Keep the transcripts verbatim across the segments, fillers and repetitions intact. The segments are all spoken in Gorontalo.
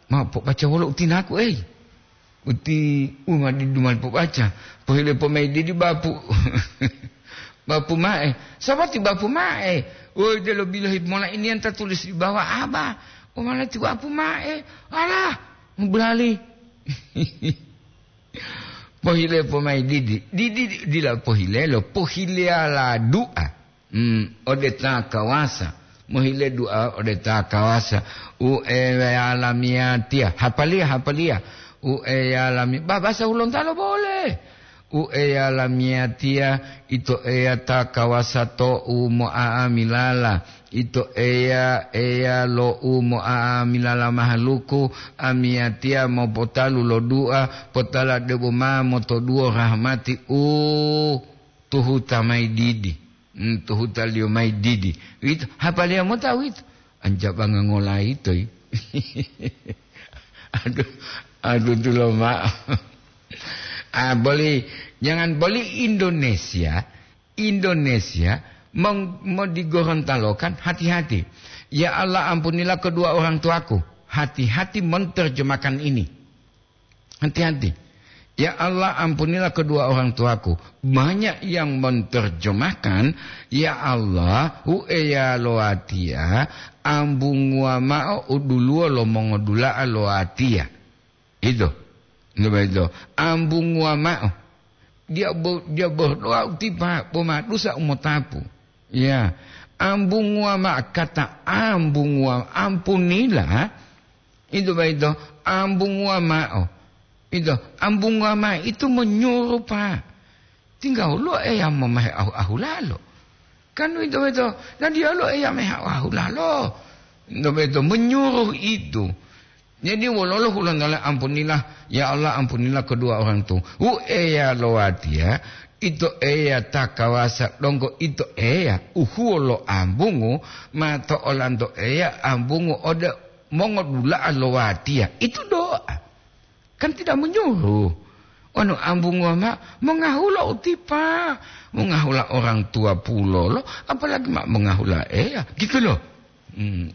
Ma pobaca wolo utinaku, ei. Uti uma didu mali pobaca. Pohile pomai didi bapu. Bapu mae. Sabati bapu mae. Woi, delo bilohi mola ini yang tertulis di bawah apa? O malati bapu mae. Alah, belali. Pohile pomai didi. Didi dila pohile lo, pohile ala du'a. Hmm, ode ta kawasa. Mohile du'a ode ta kawasa. U eya lamiyatiya. Hapaliya, hapaliya. U eya lami-, ba-, bahasa Hulontalo boleh. U eya lamiyatiya, ito eya ta kawasa to'u mo'a'amilala. Ito eya, eya lo'u mo'a'amilala mahaluku, amiyatiya mopotalu lo du'a, potala debo ma motoduwo rahmati u tuhuta mayi didi. Hmm, tuhutaliyo mayi didi. Uwito, hapaliya mota uwito. Anjabanga ngolayito yi. Aduh, aduh, tulo ma'o. Ah, boli, jangan boli Indonesia, Indonesia meng-, mau di Gorontalo kan, hati-hati. Ya Allah, ampunilah kedua orang tuaku. Hati-hati menerjemahkan ini. Hati-hati. Ya Allah, ampunilah kedua orang tuaku. Banyak yang menerjemahkan, "Ya Allah, hu eya lo watiya, ambunguwa ma'o u duluwo lo mongodula'a lo watiya." Itu. Itu begitu. Ambunguwa ma'o. Dia bo-, dia berdoa utipa, bo ma dusa umotapu. Ya. Ambunguwa ma'o, kata ambunguwa, ampunilah. Itu boyito, ambunguwa ma'o. Itu, ambunguwa ma'o itu menyuruh, Pak. Tinggal lo Eya momehe ahu-, ahulalo. Kan itu boyito, dan dia lo Eya mehe ahu-, ahulalo. Itu boyito, menyuruh itu. Jadi, wololo hulontala ampunilah, ya Allah, ampunilah kedua orang tu. Hu Eya lo watiya, ito Eya ta kawasa donggo ito Eya, uhuwo lo ambungu, ma to olanto Eya ambungu ode mongodula'a lo watiya. Itu doa. Kan tidak menyuruh. Wonu ambunguwa ma mongahula utipa, mongahula orang tua pulolo, apalagi ma mongahula Eya, gitu loh. Hmm.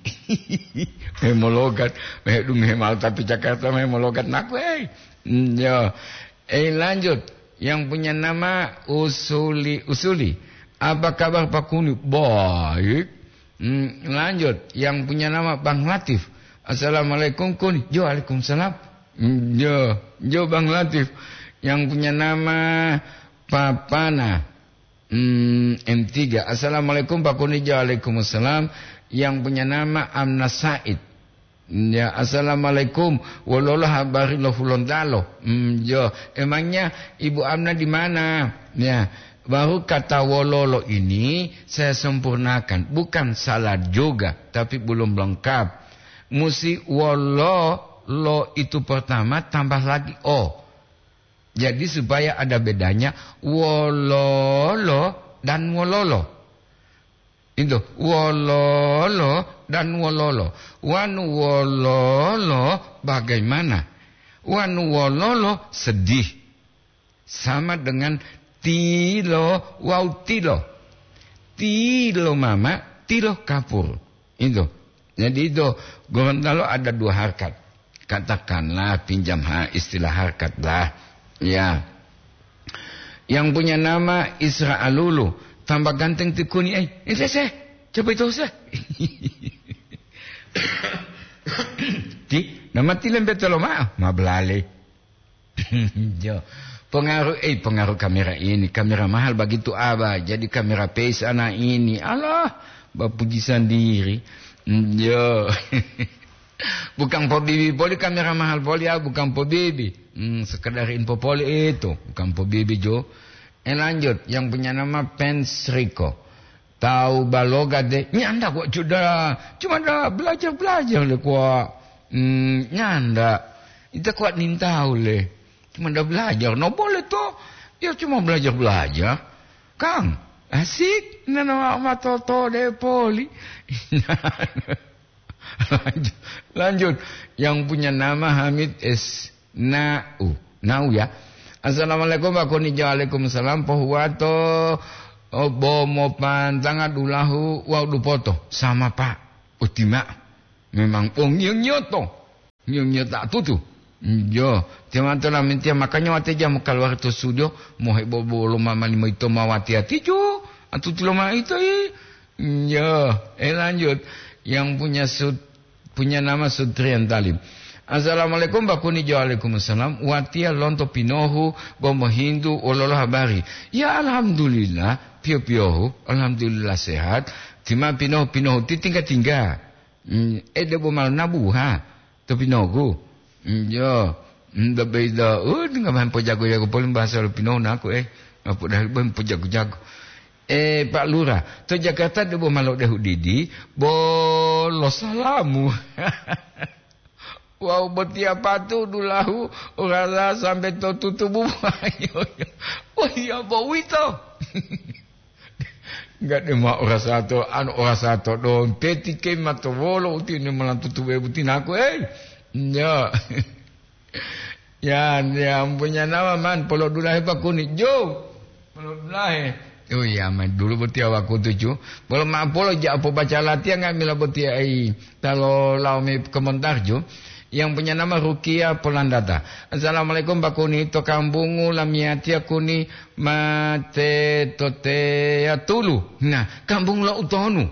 Hemologat, medunge mau tapi Jakarta hemologat naku, eh. Hmm, ya. Eh, lanjut. Yang punya nama Usuli, Usuli. Apa kabar Pak Kuni? Baik. Hmm, lanjut. Yang punya nama Bang Latif. Assalamualaikum, Kuni. Jo, waalaikumsalam. Hmm, jo, jo, Bang Latif. Yang punya nama Papana. Hmm, M tiga. Assalamualaikum, Pak Kuni. Jo, waalaikumsalam. Yang punya nama Amna Said. Ya, assalamualaikum. Wololo habari lo Hulontalo? Hmm, jo. Emangnya Ibu Amna di mana? Ya, baru kata wololo ini saya sempurnakan. Bukan salah juga, tapi belum lengkap. Musi wololo itu pertama tambah lagi o. Jadi supaya ada bedanya wololo dan wololo. Itu, wololo dan wololo. Wanu wololo bagaimana? Wanu wololo sedih. Sama dengan tilo wawu tilo. Tilo mama, tilo kapur. Itu. Jadi itu, Gorontalo ada dua harkat. Katakanlah, pinjam ha istilah harkat lah. Ya. Yang punya nama Isra Alulu. Tambah ganteng ti Kuni, eh. Eh, seh, seh. Coba itu, seh. Ti, nama ti lembe tolo ma'o. Ma belale. Jo. Pengaruh, eh, pengaruh kamera ini. Kamera mahal begitu, Abah. Jadi kamera peis ana ini. Alah, bapuji sendiri. Jo. Bukan pobibi poli kamera mahal poli, ah, bukan pobibi. Hmm, sekedar info poli itu. Bukan pobibi, Jo. Eh, lanjut. Yang punya nama Pens Rico. Tahu baloga de, nyanda kok sudah. Cuma ada belajar-belajar le kok. Hmm, nyanda. Ita kuat nintau le. Cuma ada belajar. No boleh to. Ya cuma belajar-belajar. Kang, asik. Nana matoto de poli. Lanjut, lanjut. Yang punya nama Hamid S. Nau. Nau ya. Assalamualaikum, Pak Koni. Waalaikumsalam. Pohuwato, oh, bo mopantanga dulahu wawu dupoto. Sama, Pak. Utima. Memang pongiyo nyoto. Nyo-, nyota tutu. Yo, timanto lamintiya, makanya wate jamu kaluwari to studio, mohebo bolo mama limo ito ma wati-wati jo, atutu lo ma ito i. Yo, eh, lanjut. Yang punya sud-, punya nama Sudrian Talib. "Assalamualaikum, Bakuni." Jo, "Waalaikumsalam." Watiya lonto pinohu, bo mohintu wololo habari. Ya, alhamdulillah, piyo-piyohu, alhamdulillah sehat. Tima pinohu-pinohu ti tingga-tingga. Hmm, eh, debo mal nabuha. To pinogu. Mm, yo. Mm, bebeida, uh, tinggal main pojago-jago, paling bahasa lo pinogu naku, eh. Apa dah, main pojago-jago. Eh, Pak Lurah, to Jakarta debo malo dehu didi, bolo salamu. Wau botiya patu dulahu, rasa sampai to tutubu. Wah, iya, bo wito. Enggak, de ma ora sato, anu, ora sato dompeti ke ma to wolo utini malantutu we butinaku, ei. Ya. Ya, ya, punya nama man, polo dulahe Bakuni. Jo. Polo dulahe. Oh iya, man, dulu boti awaku tuju. Polo ma polo ja po baca latihan nggak mila boti ai. Talo lao me komentar ju, yang punya nama Rukia Polandata. "Assalamualaikum, Bakuni. To kambungu lamiyatiya kuni mate to teya tulu." Nah, kambung lo utonu.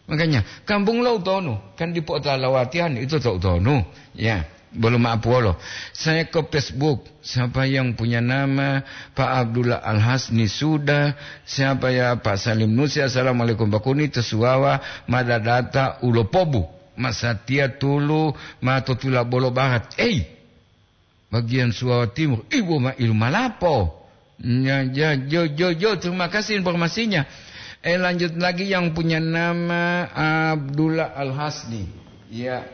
Makanya, kambung lo utonu. Kan dipo ta lawatihan itu to utonu. Ya, belum maaf wolo. Saya ke Facebook. Siapa yang punya nama Pak Abdullah Al-Hasni sudah? Siapa ya, Pak Salim Nusi? "Assalamualaikum, Bakuni. To Suwawa, madadata ulopobu. Masatiya tulu ma to Tulabolo Barat." Ei, bagian Suwawa Timur. Ibu ma ilu malapo. Ya, ya, jo, jo, jo, terima kasih informasinya. Eh, lanjut lagi yang punya nama Abdullah Al-Hasni. Ya,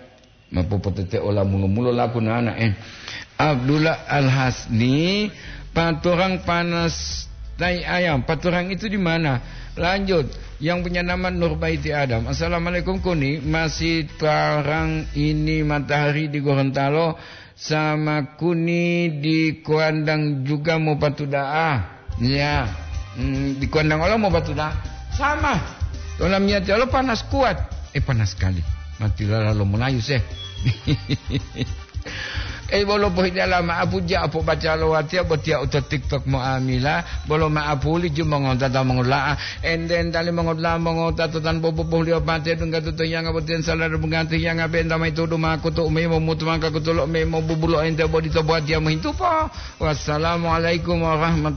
mapopotete ola mulo-mulo laku nana, eh. Abdullah Al-Hasni, paturang panas tai ayam. Paturang itu di mana? Lanjut, yang punya nama Nurbaiti Adam. "Assalamualaikum, Kuni. Masih tarang ini matahari di Gorontalo, sama Kuni di Kuandang juga mau patuda'a." Ya, mm, di Kuandang Allah mau patuda'a. Sama. Dalam niat Allah panas kuat. Eh, panas sekali. Mati lala lo Melayu seh. Eh, bolo pohidala ma'apu ja apo baca lo watiya botiya uto TikTok mo amila, bolo ma'apu li ju mongota ta mongola'a. Enden tali mongota, mongota to tan bobo bohliyo pate dungga tutu yanga botiyan salar bungantu yanga benta mai tudu makutu umi momutu mangka kutulo umi mobubulo ente bodi to buat ya muhintupo. Wassalamualaikum warahmatullahi